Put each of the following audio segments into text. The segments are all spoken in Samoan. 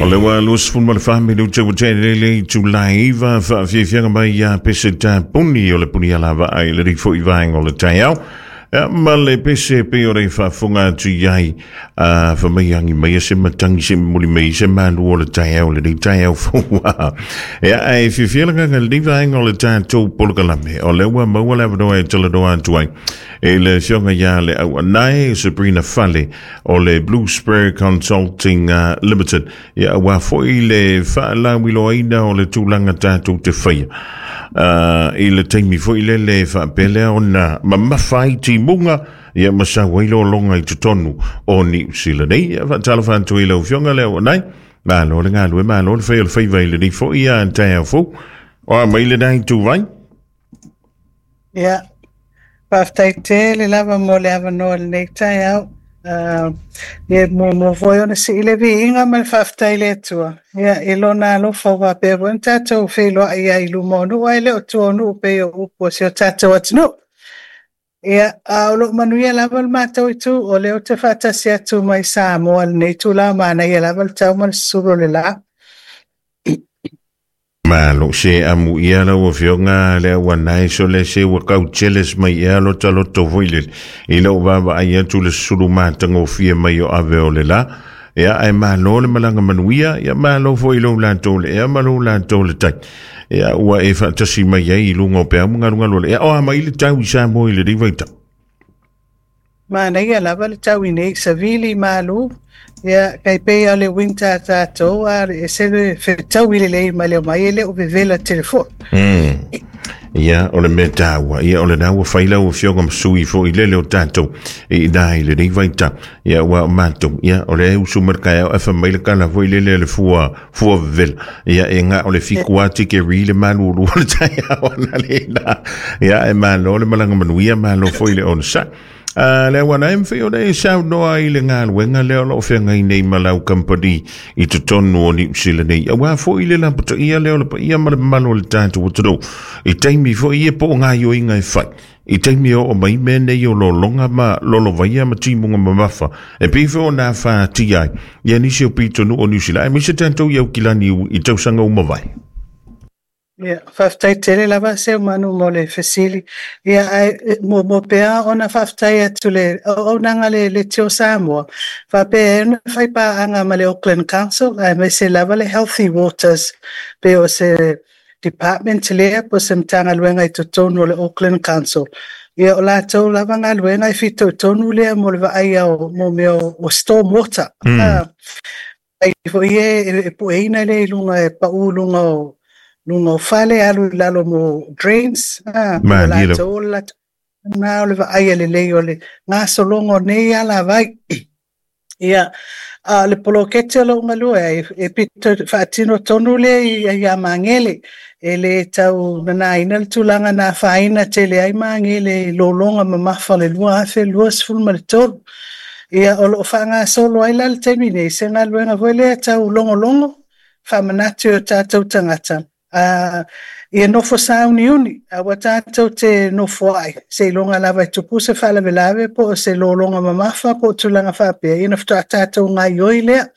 O le ua 24 minute ua tele le itula e 9 faafiafiaga mai ia pese tapuni o le puni alavaa i lenei foi vaega o le taeao. Ia, ma le pese pei o le faafofoga atu i ai a fa mai agi mai se matangi se momoli mai se malu o le taeao lenei taeao fou. Ia, ae fiafia le agaga i lenei vaega o le tatou polokalame o lea ua maua le avanoa e talanoa atu ai i le afioga ia le Auanae Sabrina Fale o le Blue Spur Consulting Limited. Ia, aua foi le faalauiloaina o le tulaga tatou te faia i le taimi foi lele e faapea lea ona mamafa ai timuga, ia ma sau ai lologa i totonu o Niu Sila nei. Ia, faatalofa atu i lau Afioga le Auanae, malo le galue, malo le fai o le faiva i lenei foi taeao fou. O a mai lena ituvai? Ia, faafetai tele lava mo le avanoa i lenei taeao. Uh, ia muamua foi ona sii le viiga ma le faafetai i le Atua. Ia, i lona alofa ua faapea foi ona tatou feiloai ai i luma o nuu ae le o tua o nuu pei o upu a si o tatou atunuu. Ia, a o lo o manuia lava le matou itu, o lea ou te faatasi atu mai Samoa i lenei itula, manaia lava le tau ma le susulu o le la. Malo se amuia lau afioga le auanae sole se ua kau jealous mai ea lota loto foi lele i lou vaavaai atu le susulu matagofie mai o ave o le la. Ia ae malo le malaga manuia, ia malo foi i lou latou le ea ma lou latou le tai. Ia ua e faatasi mai ai i luga o peau ma galugalu o le ea. O a mai le tau i Samoa i lenei vaitau? Manaia lava le tau i nei, savili malu, ia, kai pei o le winter a tatou, a ese le fetaui lelei ma le omai e le o vevela tele foi. Ia, o le mea taua, ia, o lena ua fai lau afioga ma sui foi lele o tatou i ina i lenei vaitau. Ia, ua o matou, ia, o lea e usu mai le taeao ae fai mai le tala foi lele a le fua, fua vevela. Ia, e na o le fitu lava tikeri le malulu o le taeao analeila. Ia, ae malo le malaga manuia, malo foi le onosai. A le auala e mafai ona e saunoa i le galuega lea o lo o feagai nei ma lau kamupani i totonu o Niu Sila nei, aua foi le lapataia lea o le paia ma le mamalu o le tatou atunuu i taimi foi ia po o gaoioiga e fai i taimi e oo mai mea nei o lologa ma lolovaia ma timuga mamafa e pei foi ona afatia ai ia nisi o pitonuu o Niu Sila aemaise tatou i Aukilani i tausaga ua mavae. Ia, faafetai tele lava Seumanu mo le fesili. Ia, ae muamua pea ona faafetai atu le auaunaga le Leitio Samoa, faapea ai ona fai paaga ma le Auckland Council aemaise lava le Healthy Waters, pei o se department lea po o se Matagaluega i totonu o le Auckland Council. Ia, o latou lava galuega e fitoitonu lea mo le vaaia o mo mea o storm water. Ai foi e pueina lea i luga e pau i luga o luga o fale alu i lalo mo drains. O latou o le latou na o le vaaia lelei o le gasologa o nei alavai. Ia, a o le poloketi o lo o galue ai, e pito faatino tonu lea ia Magele. E le tau nanaina le tulaga na afaina tele ai Magele i lologa mamafa o le 2023. Ia, o lo o faagasolo ai la le taimi nei se galuega foi lea tau logologo, faamanatu i o tatou tagata, ia nofo sauniuni, aua tatou te nofoai, seiloga lava e tupu se faalavelave po o se lologa mamafa po o tulaga faapea, ia ona faatoa tatou gaoioi lea.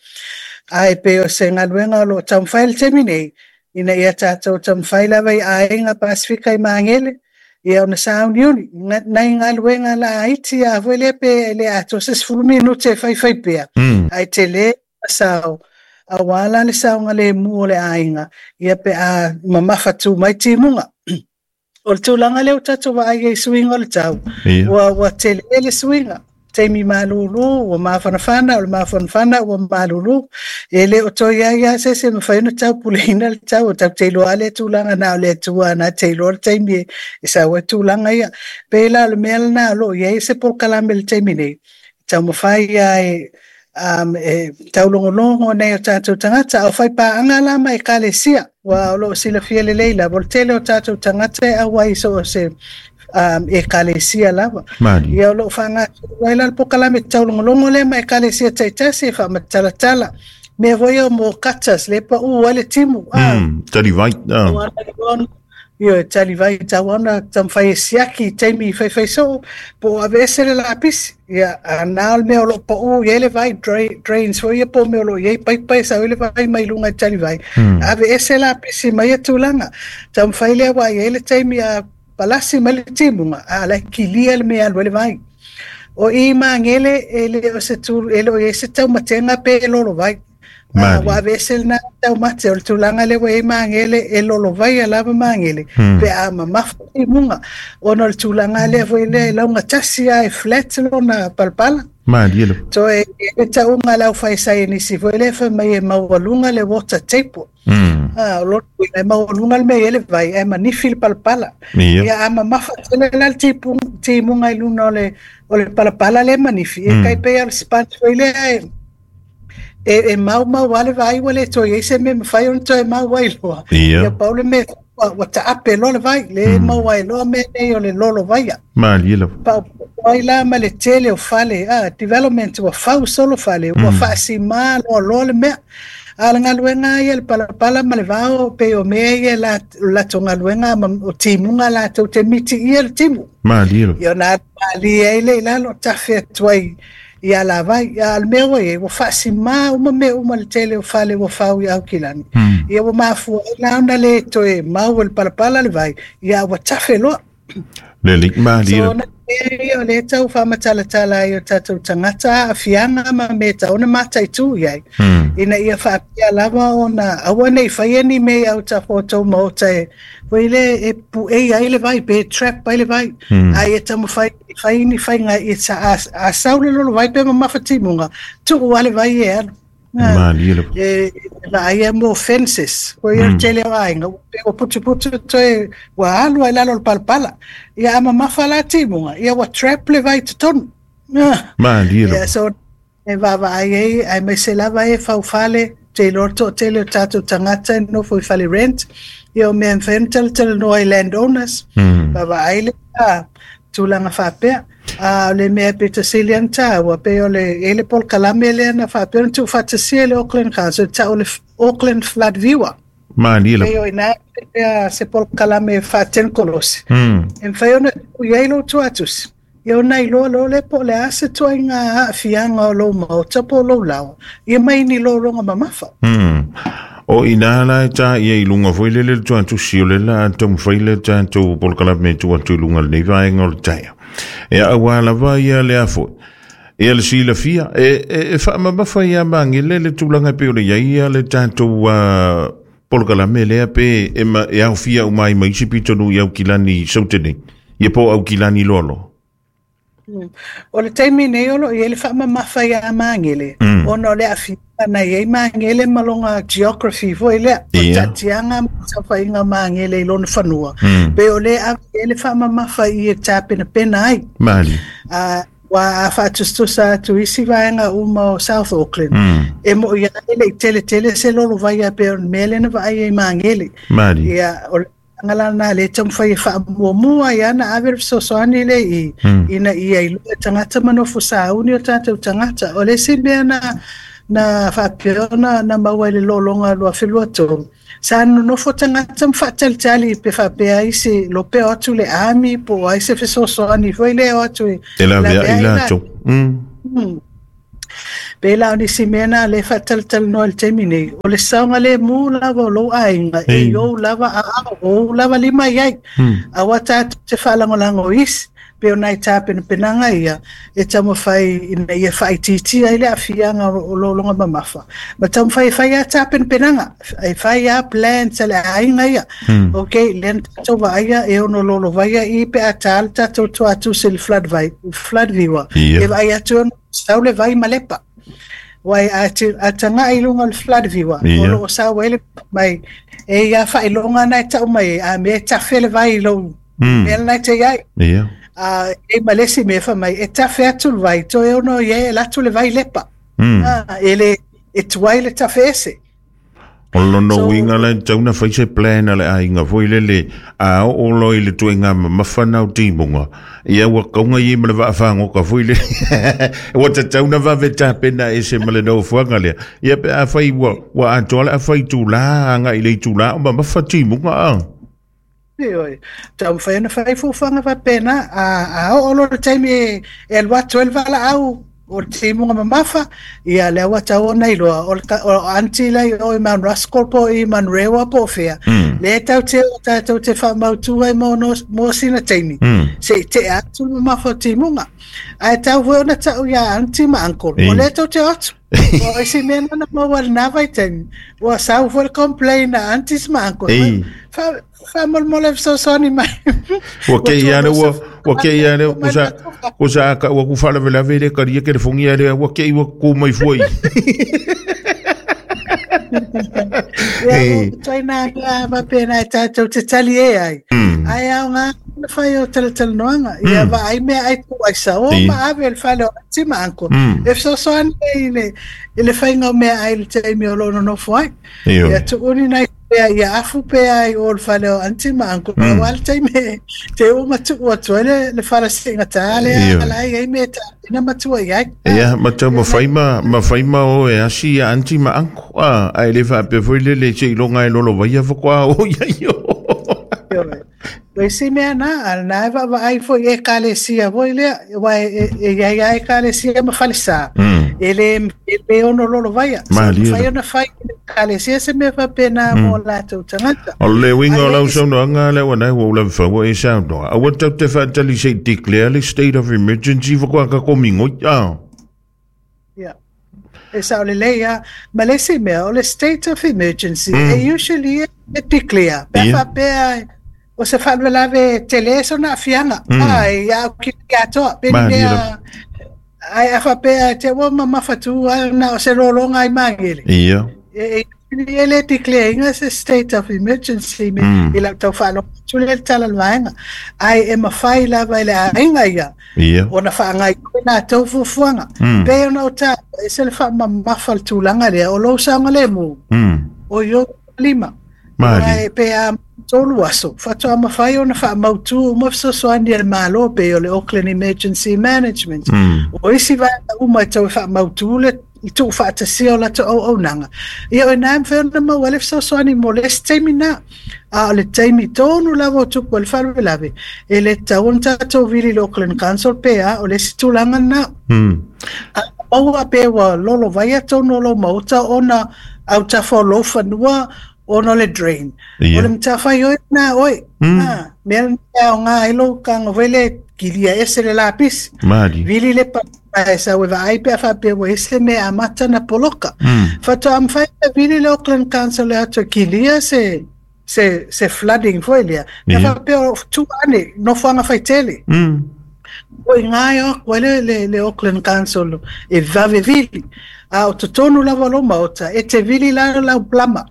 Ae pei o se galuega o lo o taumafai i le taimi nei, ina ia tatou taumafai lava i aiga Pasefika i Magele, ia ona sauniuni, nai galuega laiti lava foi lea pe le atoa se 10 minute e faifai pea, ae tele sao, aua la le saogalemu o le aiga, ia pe a mamafa tu mai timuga. O le tulaga lea ua tatou vaai ai i suiga o le tau, ua tele le suiga. Taimi malulu, ua mafanafana, o le mafanafana ua malulu. E le o toe i ai lava se isi e mafai ona taupuleina le tau, tatou te iloa lava lea tulaga na o le Atua na te iloa le taimi e sau ai tulaga ia. Pei la o le mea lena o lo o i ai se polokalame i le taimi nei, taumafai lava e e taulogologo nei o tatou tagata, a o fai paaga la ma ekalesia, ua o lo o silafia lelei lava, o le tele o tatou tagata e auai i so o se ekalesia lava. Ia o lo o faagasolo ai la le polokalame taulogologo lea ma ekalesia taitasi e faamatalatala. Mea foi ia mo gutters, le pau ai le timu. Tali vai. Ioe, talivai tau ona taumafai e siaki i taimi faifai soo, po o aveese le lapisi. Ia, a na o le mea o loo pau i ai le vai, drains foi ia po o mea o loo i ai paipa e sau ai le vai mai luga i talivai. Aveese lapisi mai ia tulaga. Taumafai lea ua i ai le taimi a palasi mai le timuga, a la e kilia le mea e alu ai le vai. O i Magele e le o se tu, e le o i ai se taumatega pe lolo vai. Ua aveese lena taumate o le tulaga lea ua i ai Magele e lolovaia lava Magele pe a mamafa timuga ona o le tulaga lea foi lea e laugatasi lava e flat lona palapala. Malie lava. Toe e tauga a le aufai saienisi foi lea fai mai e maualuga le water table. O lona uiga e maualuga le mea e i ai le vai ae manifi le palapala. Ia a mamafa tele la le timuga i luga o le palapala lea e manifi, e tai pei lava o le sponge foi lea e maumau lava le vai ua le toe i ai se mea e mafai ona toe mau ai loa. Ia pau le mea ua taape loa le vai, le maua ai loa mea nei o le lolovaia. Malie lava. Paopao ai la ma le tele o fale, development ua fau solo fale, ua faasimā loa loa le mea. A o le galuega ia le palapala ma le vao pei o mea ia la latou galuega ma o timuga latou te mitiia le timu. Malie lava. Ia ona alu malie ai lea i lalo tafe atu ai i alavai. A o le mea ua i ai, ua faasimā uma mea uma le tele o fale ua fau i Aukilani. Ia ua mafua ai la ona le toe mau e le palapala le vai, ia ua tafe loa. Lelei, malie. So, na mea ia o lea tau faamatalatala ai o tatou tagata aafiaga ma mea e tatau ona mataitu i ai. Ina ia faapea lava ona aua ne i faia ni mea i autafa o tou maota e foi lea e puei ai le vai pe trap ai le vai. A ia taumafai e fai ni faiga ia a sau le lolo vai pe mamafa timuga, tuu lava le vai e alu. Malie lava. E vaaia mo fences. Ko ia le tele o aiga, pe ua putuputu toe ua alu ai lalo o le palapala. Ia a mamafa la timuga, ia ua trap le vai i totonu. Malie lava. Ia, so e vaavaai ai, aemaise lava e faufale, te iloa le toatele o tatou tagata e nofo i fale rent, ia o mea e mafai ona talatalanoa i landowners, vaavaai le tulaga faapea. A o le mea pito sili ona taua, pei o le e le polokalame lea na faapea ona tuufaatasia e le Auckland Council, tau o le Auckland Flood Viewer. Malie lava. Pei o ina pea se polokalame faatekonolosi. E mafai ona tuu i ai lou tuatusi. Ia ona iloa loa lea po o le a se ituaiga aafiaga o lou maota po o lou laoa, ia mai ni lologa mamafa. O ina la e tā ia i lunga foi lele le tuatusi o le la taumafai le tatou polokalame e tuu atu i luga lenei vaega o le taeao. E auā lava ia le a foi. Ia le silafia, e faamamafa ia Magele le tulaga e pei ona i ai ia le tatou polokalame lea pe e, ma, e aofia uma ai ma isi pitonuu i Aukilani i Saute nei. Ia po o Aukilani loa loa. O le taimi nei o loo i ai le faamamafa ia Magele, ona o le aafiaga na i ai Magele ma lona geography foi lea, o le taatiaga ma le saofaiga o Magele i lona fanua, pe o lea ave i ai le faamamafa i e tapenapena ai. Malie. Ua a faatusatusa atu isi vaega uma o South Auckland, e moi lava e le i teletele se lolovaia pei o le mea lea na vaai ai Magele. Malie. Ia, o le tulaga la lena lea e taumafai e faamuamua ai lava ona ave le fesoasoani lea i ina ia iloa e tagata ma nofo sauni o tatou tagata. O le isi mea na faapea ona na maua i le lologa 2023, sa nonofo tagata ma faatalitali pe faapea ai se lope o atu le army po o ai se fesoasoani foi lea o atu e E laveai latou. Pe la o nisi mea na lea e faatalatalanoa i le taimi nei, o le saogalemu lava o lou aiga, e i ou lava aao, o ou lava lima i ai. Aua tatou te faalagolago i isi, pe o nai tapenapenaga ia e taumafai ina ia faaitiitia ai le aafiaga o lologa mamafa. Ma taumafai e fai lava tapenapenaga, e fai lava plans a le aiga ia. Okay, lea na tatou vaaia e ono lolovaia i pe a tā le tatou tuatusi i le flood, vai, flood viewer. E vaai atu ono sau le vai ma lepa. Wai a, a tagai i luga o le flood viewer, o loo sau ai le mai, e ia faailoga na e tau mai ai, a mea e tafe le vai i lou mea lena e te i ai. A e ma le isi mea fai mai, e tafe atu le vai, toe ono i ai e alu atu le vai i Lepa. E le, e tuai le tafe ese. O lona uiga la e tatau ona fai se plan a le aiga foi lele a oo loa i le ituaiga mamafa na o timuga, ia ua kauga i ai ma le vaafagoka foi lele. Ua tatau ona vave tapena ese ma le nofoaga lea. Ia pe afai ua atoa le afa itula agai i le itula o mamafa timuga a. Ioe, taumafai ona fai fuafuaga faapena, a oo loa le taimi e alu atu ai le valaau o le timuga mamafa, ia lea ua tatau ona iloa, o le aunty la i o i Mount Roskill po o i Manurewa po o fea, lea e tatou te o tatou te faamautu ai mo sina taimi, se i tea atu le mamafa o timuga. Ae tatau foi ona tau ia aunty ma uncle, o lea tou te o atu. O isi mea na na maua i lena vaitaimi, ua sau foi le complain a aunties ma uncles, faamolemole fesoasoani mai. Ua kei ia le ua ua kei ia le ua sa ua sa ka ua ku faalavelave le kalia telefoni ia le ua kei ua ku mai fua i. Ia, toi nā mea faapena e tātou te tali e ai. Ae aoga ona fai o talatalanoaga. Ia vaai mea ai tuu ai sao ma ave i le fale o aunty ma uncle. E fesoasoani ai i le, i le faiga o meaai i le taimi o lo o nonofo ai. Ia tuu ni nai pea ia afu pea i o le fale o aunty ma uncle. Aua le taimi e te oo ma tuu atu ai le fala siigatā lea la e i ai mea e tapena ma tua i ai. Ia, ma tau mafai ma, mafai ma o e asi ia aunty ma uncle. A, ae le faapea foi lele seiloga e lolovaia faatoa o i ai o. Ioe. O isi mea na, a na e vaavaai foi i ekalesia foi lea, aua e i ai lava ekalesia ma falesa, e le, e le ono lolovaia. So, e mafai ona fai e le ekalesia se mea faapena mo latou tagata. O le uiga o lau saunoaga lea ua nai ua ou lava ua e saunoa. Aua tatou te faatali se i declare le state of emergency faatoa tatou migoi. Ah. Yeah. E sao lelei lava. Ma le isi mea, o le state of emergency, e usually e declare. Pe a faapea o se faalavelave tele sona aafiaga, a, ia au ki atoa. Pe ni mea, ai a faapea te ua mamafa tu a na o se lologa ai Magele. Ia. E, e le declare ina se state of emergency me i lau tau faalogo atu lea i le tala o le vaega. Ae e mafai lava e le aiga ia Ia. ona faagaoioi latou fuafuaga. Pei ona ou taua, e ese le faamamafa o le tulaga lea, o lou saogalemu, o i ou lima. Malie. Aua pe a 3 aso, faatoa mafai ona faamautu uma fesoasoani a le Malo, pei o le Auckland Emergency Management. O isi vaega uma e tau e faamautu le tuufaatasia o latou auaunaga, ia o i ina e mafai ona maua ai le fesoasoani mo le isi taimi lena. A o le taimi tonu lava o tupu ai le faalavelave, e le tatau ona tatou vili i le Auckland Council pe a, o le isi tulaga lena. A maua pe ua lolovaia tonu o lou maota ona autafa o lou fanua ona o le drain. O le matafaioi lena a oe. A, mea lena e aoga ai lou tago foi lea e kilia ese le lapisi. Vili le paipa e sau e vaai pe a faapea ua i ai se mea e amata ona poloka. Faatoa mafai ona vili le Auckland Council e atu e kilia se se se flooding foi lea. Pe a faapea o tua ane, nofoaga faitele. O i ina e o atu ai le, le, le Auckland Council e vave vili. A o totonu lava o lou maota, e te vili la lau plumber.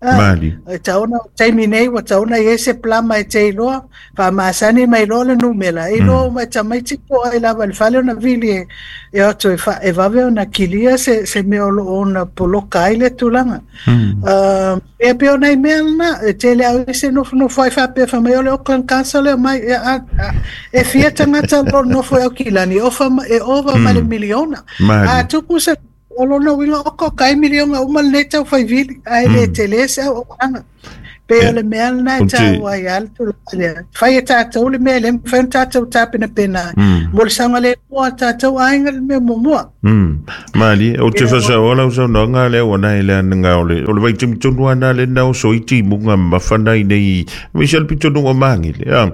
Mali. E tatau ona, o le taimi nei ua tatau ona i ai se plumber e te iloa, faamasani mai loa le numera, e iloa uma e tamaiti po o ai lava i le fale ona vili e, e o atu e, fa, e vave ona kilia se, se mea o lo o ona poloka ai le tulaga. Ia pei o nai mea lena, e tele au i se nofonofo ai faapea fai mai o le Auckland Council e omai, e, a, a, e fia tagata o lo o nofo i Aukilani, e ofa, e ova ma le miliona. A tupu se O lona uiga oka oka ai miliona uma lenei tau fai vili, ae le tele se auaunaga. Pei o le mea lena e taua ai lava le tulaga lea. Fai e tatou le mea e le mafai ona tatou tapenapena ai. Mo le saogalemu o tatou aiga le mea muamua. Malie, ou te faasaoa lau saunoaga lea ua nai le anaga o le, o le vaitaimi tonu lava lena lea na oso ai timuga mamafa nai nei, aemaise le pitonuu o Magele. A,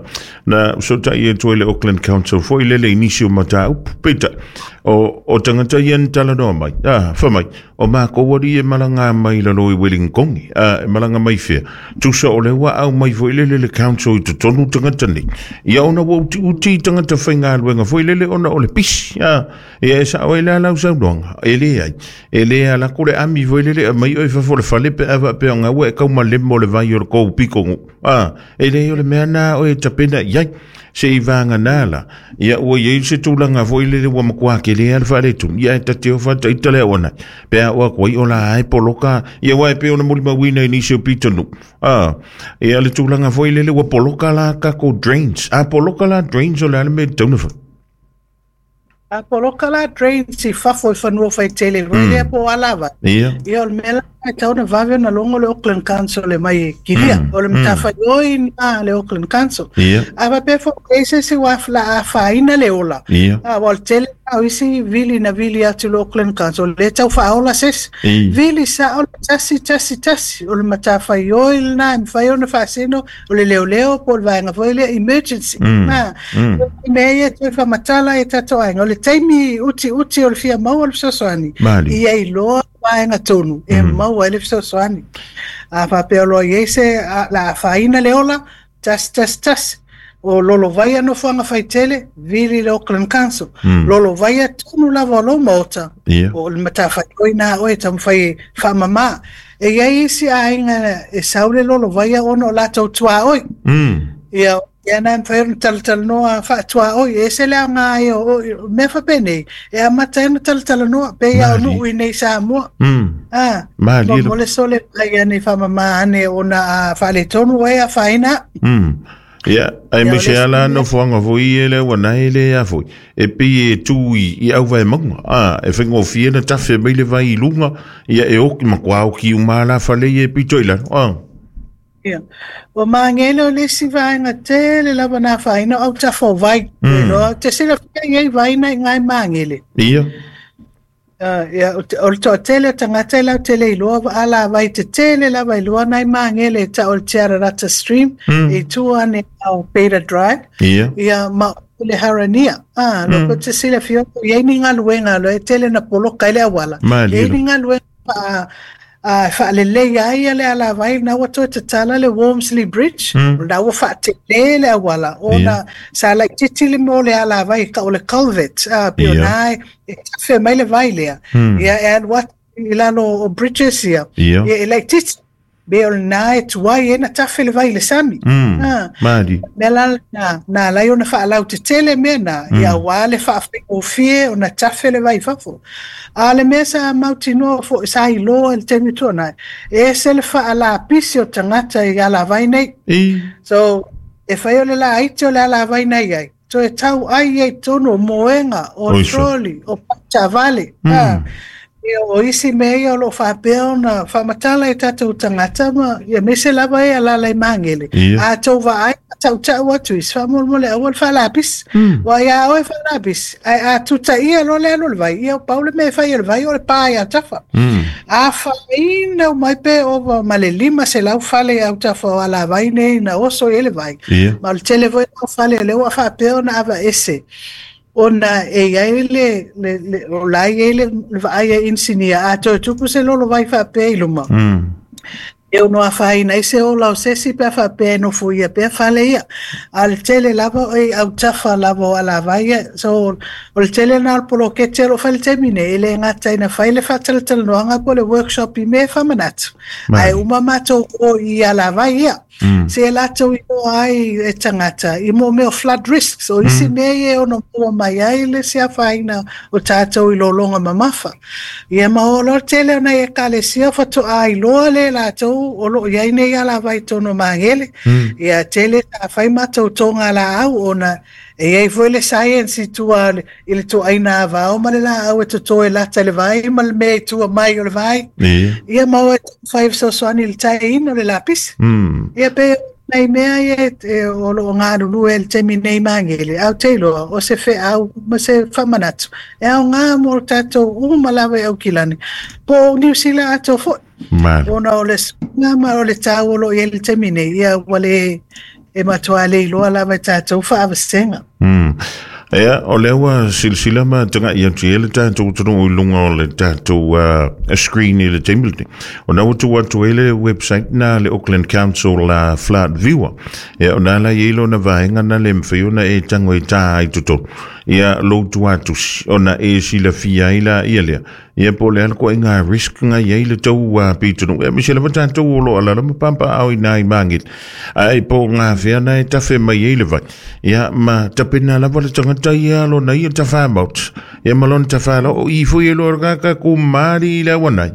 na fesootai atu ai le Auckland Council foi lele i nisi o mataupu. Peitai, o, o tagata ia na talanoa mai, a, fai mai, o makou alii e malaga mai i lalo i Welingkoni, a, e malaga mai fea? Tusa o lea ua aumai foi lele le council i totonu tagata nei. Ia ona ua utiuti i tagata faigaluega foi lele ona o le pisi, a, ia e sao ai la lau saunoaga, e leai, e le ala atu le ami foi lele e aumai oe i fafo o le fale pe a faapea o gaua e taumalemo le vai o le tou pitonuu, a, e leai o le mea lena oe e tapena i ai. Se i vagana la, ia ua i ai se tulaga foi lele ua matua tele lava le faaletonu, ia ae ta te ofa ita le auana, pe a oo atu ai o la e poloka, ia aua e pei ona molimauina i nisi o pitonuu, a, ia le tulaga foi lele ua poloka la tatou drains, a poloka la drains o le a le mea e tatau ona fai? A poloka la drains i fafo i fanua faitele foi lea po o alavai. Ia. Ia o le mea la e tatau ona vave ona logo le Auckland Council e mai e kilia. O le matafaioi lena a le Auckland Council. A faapea foi ua i ai se isi ua afaina le ola, aua o le tele lena o isi vili na vili atu i le Auckland Council, lea e tau faaola se isi. Vili sao le 111, o le matafaioi lena e mafai ona faasino o le leoleo po o le vaega foi lea emergency. O mea ia e toe faamatala ai e tatou aiga, o le taimi utiuti o le fia maua o le fesoasoani, ia iloa vaega tonu e maua ai le fesoasoani. A faapea o loa i ai se la afaina le ola, 111, o lolovaia nofoaga faitele, vili le Auckland Council. Lolovaia tonu lava o lou maota, o le matafaioi na a oe e taumafai e faamama. E i ai isi aiga e sau le lolovaia ona o latou tuaoi. Ia, ia na e mafai ona talatalanoa faatuaoi, e ese le aoga ai o mea faapenei, e amata ai ona talatalanoa, pei lava o nuu i inei i Samoa. Mo le sole mai ane faamama ane ona a faaletonu oe afaina au. Ia, aemaise lava la nofoaga foi ia lea ua nae le a foi, e pei e tu i auvaemauga, e faigofie ona tafe mai le vai i luga, ia e oki, matua oki uma lava la fale ia e pito i lalo. Ia. Ua magele o le isi vaega tele lava na afaina o autafa o vai. Iloa, te silafia i ai vai na i ina i Magele. Ia. Ia, o le toatele o tagata e lautele iloa alavai tetele lava iloa nai Magele e tau o le Te Ararata Stream, i tua ane o Beta Drive. Ia. Ia, ma o le Harania. Lo ko te silafia, i ai ni galuega, lo e tele na poloka ai le auala. I ai ni galuega faaleleia ai le alavai, na ua toe tatala le Walmsley Bridge, na ua faatele le auala, ona sa laitiiti le mea o le alavai, o le culvert, pei o na e tafe mai le vai lea, ia e alu atu i lalo o bridges ia, ia e laitiiti, me o lena e tuai ai na tafe le vai i le sami. Mea la na, na ala ai ona faalautetele mea na, ia aua le faafaigofie ona tafe le vai i fafo. A o le mea sa mautinoa foi, sa iloa i le taimi tuanai, e ese le faalapisi o tagata i alavai nei. So, e fai o le laiti o le alavai na i ai, toe tau ai ai i totonu o moega, o trolley, o taavale. Ia, o isi mea ia o lo o faapea ona faamatala i tatou tagata ma ia aemaise lava e alaala i Magele. A tou vaai ma tautau atu isi, faamolemole aua le faalapisi. Aua ia oe faalapisi, ae a tutaia loa le alu o le vai, ia pau le mea e fai e le vai o le pa i autafa. Afaina uma ai pe ova ma le 500 fale i autafa o alavai nei na oso i ai le vai. Ma o le tele foi o fale o lea ua faapea ona aveese ona e i ai le, le, le o la e i ai le, le vaai a inisinia, a toe tupu se lolo vai faapea i luma, e ono afaina ai se ola o se isi pe a faapea e nofoia pea fale ia. A o le tele lava o i autafa lava o alavai ia. So, o le tele lena o le poloketi o lo o fai i le taimi nei, e le gata ina fai le faatalatalanoaga po o le workshop i mea e faamanatu, ae uma matou o i alavai ia. Se e latou iloa ai e tagata i mo mea o flood risks, o isi mea ia e ono maua mai ai le isi afaina o tatou i lologa mamafa. Ia ma o loa le tele o nai ekalesia faatoa iloa lea e latou o lo o i ai nei alavai i totonu o Magele. Ia tele sa fai matou toga laau ona e i ai foi le science i tua i le tuaina avao ma le laau e toto e lata i le vai ma le mea i tua mai o le vai. Ia ma o e taumafai e fesoasoani i le taeina o le lapisi. Ia pei o nai mea ia e o lo o galulue i le taimi nei i Magele, ae ou te iloa o se feau ma se faamanatu e aoga mo tatou uma lava i Aukilani po o Niu Sila atoa foi. Ona o le suiga ma o le tau o lo o i ai i le taimi nei, ia ua le e matua le iloa lava e tatou faavasega. Ia, o lea ua silasila ma tagai atu i ai le tatou atunuu i luga o le tatou screen i le taimi lenei. Ona ua tuu atu ai le website na le Auckland Council Flood Viewer. Ia, ona la i ai lona vaega na le mawhai ona e tango e tā ai totonu. Ia, lou tuatusi, ona e silafia ai la ia lea. Ia po o le a le ituaiga risk nga i ai le tou pitonuu. Aemaise lava tatou o lo o alaala ma papaao i nā i Magele. Ae po o ngā whea na e tawhe mai ai le vai. Ia ma tapena lava le tangata ia lona ia tawha maota. Ia ma lona tawha la o i foi e loa ka ka ku maari i le awanai.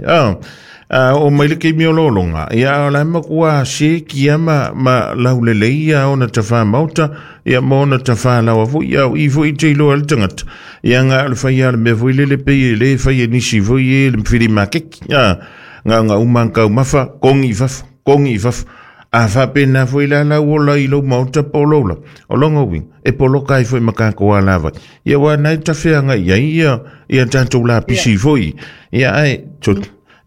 O mai le keimi o lolonga. Ia o la ma kua se kia ma laulelei ia ona tawha maota. Ia ma ona tawha lawa foi. Ia o i foi te iloa le tangata. Ia nga o le whai a le mea foi lele pei e le whai e nisi foi e le mwhiri makeki. Gaogaouma taumafa, kogi i fafo, kogi i fafo. A faapena foi la lau ola i lou maota po o lou la. O lona uiga, e poloka ai foi ma tatou alavai. Ia aua na e tafeagai ai ia ia tatou lapisi foi. Ia ae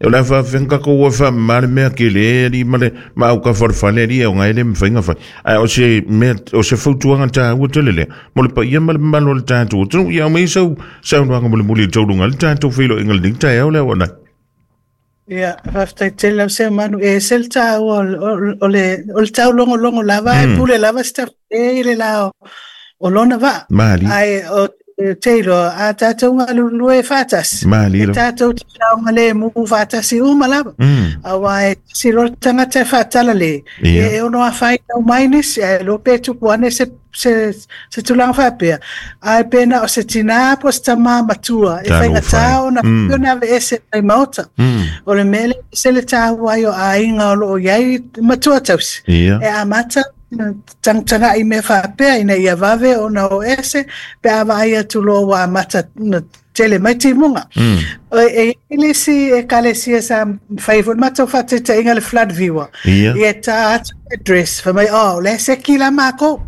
o le a faafefea tatou o e faamama le mea tele e alii ma le ma aukafa o le fale alii e oga e le mafai ona fai. Ae o se mea o se fautuaga taua tele lea mo le paia ma le mamalu o le tatou atunuu. Ia aumai sau saunoaga mulimuli e tauluga ai le tatou feiloaiga i lenei taeao le auaunai. Ia, faafetai tele lau Seumanu. E ese le taua o le, o le taulogologo lava, e pule lava se tafale i le la o lona vaa. Malie. Ae o te iloa, a tatou galulue faatasi, Malie e tatou te saogalemu faatasi uma lava. Aua e tasi loa le tagata e faatalale, e ono afaina uma ai nisi, ae iloa pe tupu ane se se, se tulaga faapea, ae pe na o se tinā po o se tamā matua e faigata ona ona aveese mai maota. O le mea lea e ese le taua ai o aiga o lo o i ai matua tausi, e amata tagatagai i mea faapea ina ia vave ona o ese pe a vaai atu loa ua amata ona tele mai timuga. E i ai le isi ekalesia sa fai foi le matou faataitaiga le flood viewer. Ia e tā atu le address, fai mai, oh, o la e seki la makou.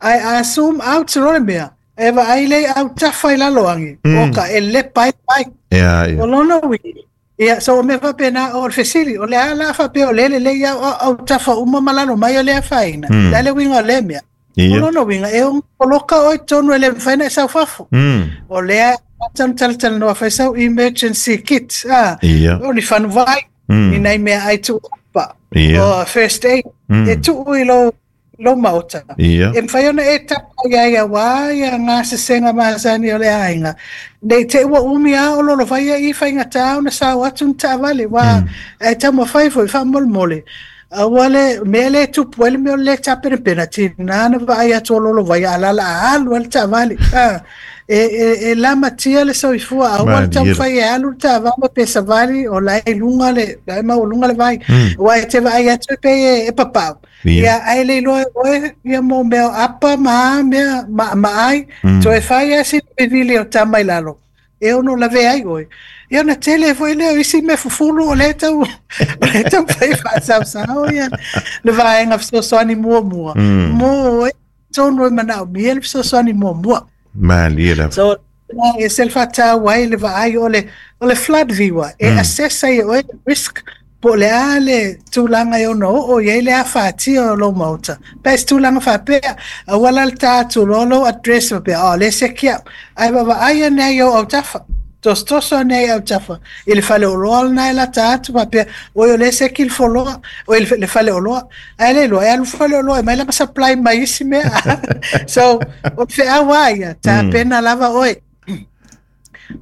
Ae a zoom out loa le mea, e vaai lea i autafa i lalo agi, oka, e lepa ai le vai. O lona uiga, ia, so o mea faapena, o le fesili, o le a la faapea o lea e lelei au autafa uma ma lalo mai o le afaina? O le a le uiga o lea mea? O lona uiga, e ono poloka oe i totonu e le mafai ona e sau fafo. O lea e amata ona talatalanoa fai sau emergency kit, a, o ni fanuvai, ni nai meaai tuuapa, o first aid, e tuu i lou, lou maota. E mafai ona e tapa i ai aua ia gasesega masani o le aiga, nei te i ua umi lava o lolovaia i faigata ona sao atu ni taavale, aua e taumafai foi faamolemole. Aua le mea lea e tupu ai le mea o le lē tapenapena, tiga na vaai atu o lolovaia a la o le a alu ai le taavale. A, e, e, e lamatia le soifua, aua le taumafai e alu le taavale pe savali o la e i luga le, la e maualuga le vai. Aua e te vaai atu e pei e, e papau, ia, ae le iloa e oe ia mo mea o apa ma a mea ma, ma ai, toe fai lava sina vivili o tama i lalo. e ono lavea ai oe. Ia ona tele foi lea o isi mea fufulu o lea e tau, o lea e taumafai e faasaosao ia le vaega fesoasoani muamua mo oe tonu e manaomia le fesoasoani muamua. Malie lava. So, e ese le faataua ai le vaai o le, o le flood viewer, e assess ai e oe le risk Po o le a le tulaga e ono oo i ai le afatia o lou maota, pe a se tulaga faapea, aua la le ta atu loa lou address faapea, oh, o lea e seki au. Ae vaavaai ane ai i ou autafa, tosotoso ane ai i autafa i le faleoloa lena e lata atu faapea, oi o lea e seki le foloa, oi le faleoloa. Ae le iloa, e alu le faleoloa e aumai lana supply mai isi mea. So, o le feau lava ia, tapena lava oe.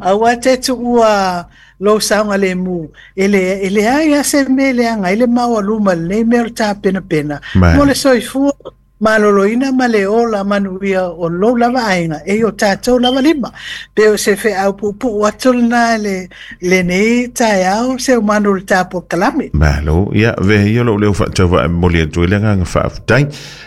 Aua te tuua lou saogalemu, e le, e leai lava se mea e leaga ai le maualuma i lenei mea o le tapenapena mo le soifua maloloina ma le ola manuia o lou lava aiga e i o tatou lava lima. Pe o se feau puupuu atu lena i le, lenei taeao Seumanu i le tapo kalame. Malo, ia, avea ia lou leo faatauvaa e momoli atu ai le agaga faafetai.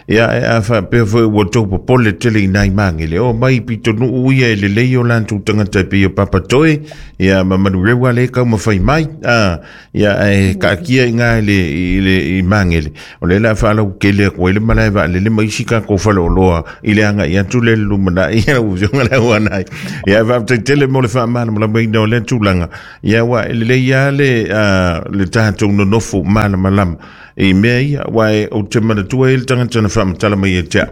Ia, ae a faapea foi ua outou popole tele i nai magele, o mai i pitonuu ia e lelei o latou tagata e pei o Papatoe, ia, ma Manurewa lea e taumafai mai, a, ia, ae taatia i ina i le, i le, i Magele, o lea o le a faalautele atu ai le malae vaalele ma isi tatou faleoloa i le agai atu lea i le lumanai, lau Afioga i le Auanai. Ia, ae faafetai tele mo le faamalamalamaina o lea tulaga, ia, aua e lelei lava le, a, le tatou nonofo malamalama I mea ia, aua e, ou te manatua e i ai le tagata na faamatala mai ia te au,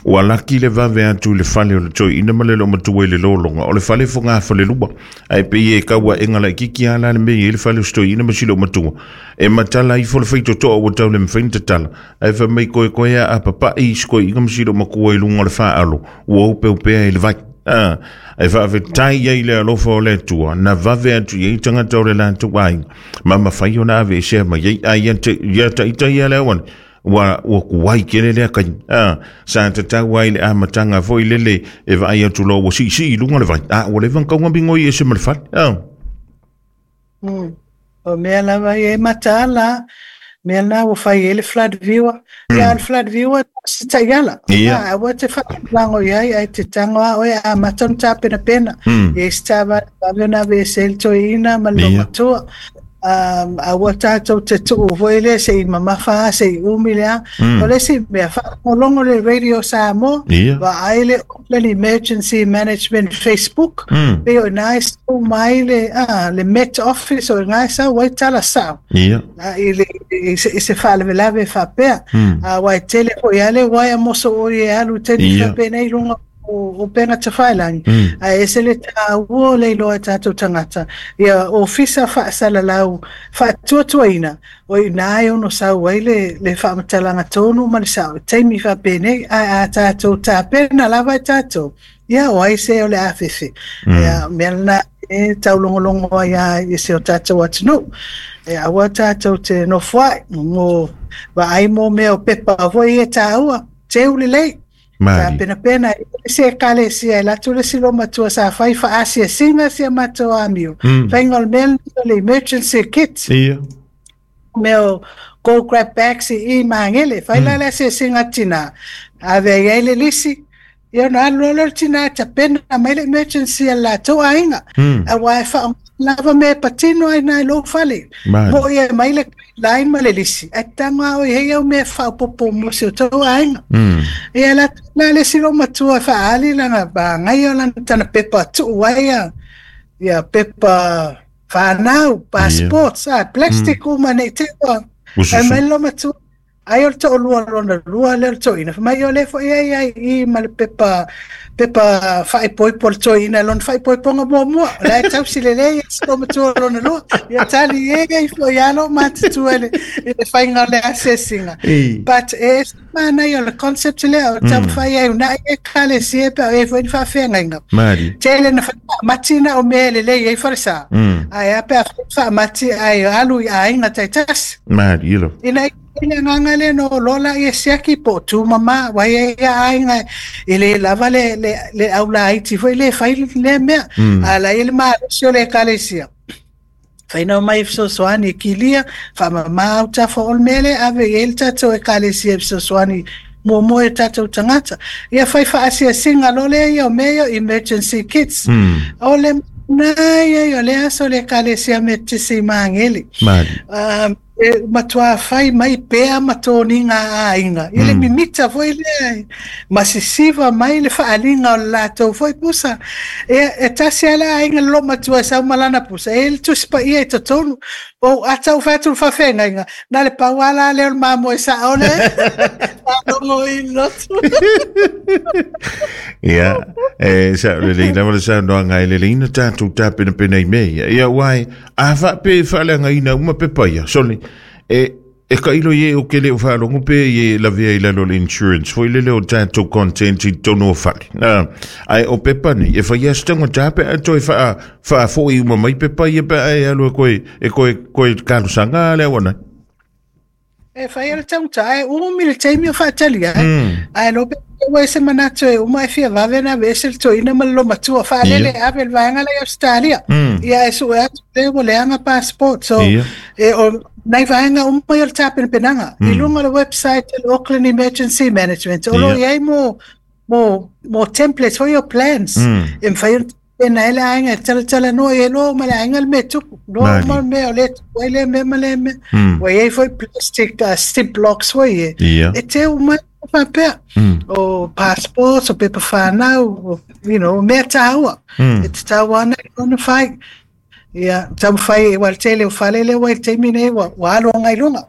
ua laki le vave atu i le fale o le toeaina ma le loomatua i le lologa, o le fale e fogafalelua, ae pei e tau aega laitiiti lava la le mea e i ai le fale o si toeaina ma si loomatua. E matala ifo le faitotoa ua tau le mafai ona tatala, ae fai mai koekoe a apapai si toeaina ma si loomatua i luga o le faaalo, ua opeopea i le vai. A, e faafetai ai i le alofa o le Atua, na vave atu i ai tagata o le latou aiga, ma mafai ona aveesea mai ai. A ia te, ia taita ia le auana, ua, ua tuai tele lea taimi. A, sa tatau ai i le amataga foi lele e vaai atu loa ua siisii i luga le vai, a ua leva ona tau migoi ese ma le fale. A. O mea lava ia e mataala, mea na ua fai ai le flood viewer. Ia, o le flood viewer, se taiala. Ia. A, aua te faalagolago i ai, ae te tago lava oe a amata ona tapenapena. Ia i se taavale vave ona aveese ai le toeaina ma le loomatua. Aua tatou te tuu foi lea se'i mamafa a se'i umi le a. O le isi mea, faalogologo le Radio Samoa, vaai le Auckland Emergency Management Facebook, pei o ina e sau mai le, le Met Office, o ina e sau ai tala sa'o i le i se faalavelave faapea. Aua e tele foi lava le uaea mosooi e alu i taimi faapenei i luga o upega tafailagi, ae ese le taua o le iloa e tatou tagata ia ofisa faasalalau faatuatuaina, o i ina e ono sau ai le faamatalaga tonu ma le sao i taimi faapenei. Ae a tatou tapena lava e tatou, ia o ai se o le a fefe. Ia mea lena e taulogologo ai lava i si o tatou atunuu. E aua tatou te nofoai mo vaai mo mea o pepa foi e taua, teu lelei. Tapenapena e se ekalesia e latu le isi loomatua sa fai faaasiasiga si a matou amio. Faiga o le mea lenei o le emergency kit. Mea o go grab bags i i Magele. Fai la le asiasiga a le tina. Ave ai ai le lisi. Ia ona alu loa lea o le tina e tapena mai le emergency a le latou aiga. Aua e faaaoga lava mea e patino ai i lou fale. Mo'i e mai le guideline ma le lisi, ae tago lava oe i ai au mea faaopoopo mo si o tou aiga. Ia la la le isi loomatua e faaali lana magaia o lana tana pepa tuu ai ia pepa fanau, passports, plastic uma nei te ua. Ai mai le loomatua, ai o le toalua lona lua lea o le toeaina. Fai mai o lea foi ai ai i ma le pepa pepa faaipoipo a le toeaina lona faaipoipoga muamua. O la e tausi lelei e si loomatua lona lua. Ia tali e ai foi lava lou matutua i le faiga o le asiasiga. But e ese manaia o le concept lea o taumafai ai uunai ekalesia pe a i ai foi ni faafeagaiga. Tele na faamati na o mea e lelei ai falesa. Ae a pe a faamati ae alu i aiga taitasi. Malie lava. Ina i le agaga lea na o loa la ia siaki po o tumama, aua e i ai lava aiga e le lava le aulaiti foi lea e fai lea mea. A la e i ai le malosi o le ekalesia, fai na omai e fesoasoani e kilia, faamama autafa o le mea lea ave i ai le tatou ekalesia e fesoasoani muamua i o tatou tagata. Ia fai faasiasiga loa lea ia o mea ia o emergency kits. O le manaia ia o le aso o le ekalesia Metotisi i Magele. E matua fai mai pea ma toniga a aiga i le mimita foi lea ma sisiva mai le faaaliga o le latou foi pusa. E tasi lava le aiga le loomatua e sau ma lana pusa, e i ai le tusi paia i totonu. Ou ata ou fai atu i le faafeagaiga, na le pau lava la lea o le mamoe sao lea faalogo i le lotu. Ia, e sao lelei lava le saunoaga e lelei na tatou tapenapena i mea ia. Ia, aua e, a faape e faaleagaina uma pepa ia, sole, e tailo i e o ke le o faalogo pe i e lavea i lalo o le insurance foi lele o tatou content i totonu o fale. Ae o pepa nei, e fai a se taugata pe a toe faafoi uma mai pepa ia pe a e alu e koe talosaga le auana. E fai le taugata, ae umi le taimi o faatali ai. Ae lo pe ua e se manatu e uma e fia vave na aveese le toeaina ma le loomatua faalele ave le vaega lea i Australia. Ia e sue atu lea ua leaga passport. So, e o nai vaega uma ia o le tapenapenaga. I luga o le website o le Auckland Emergency Management, o lo o i ai mo templates foi o plans. E mafai ona tapena ai le aiga e talatalanoa i ai loa uma le aiga le mea e tupu. Loa uma le mea o lea e tupu ai lea mea ma lea mea. Ua i ai foi plastic zip locks foi e. E teu mai faapea. O passports, o pepa whānau, o, mea tāua. E te tau ana i ona fai. Ia, taumafai e ua le tele o fale lea ua i le taimi nei ua alo agai i luga.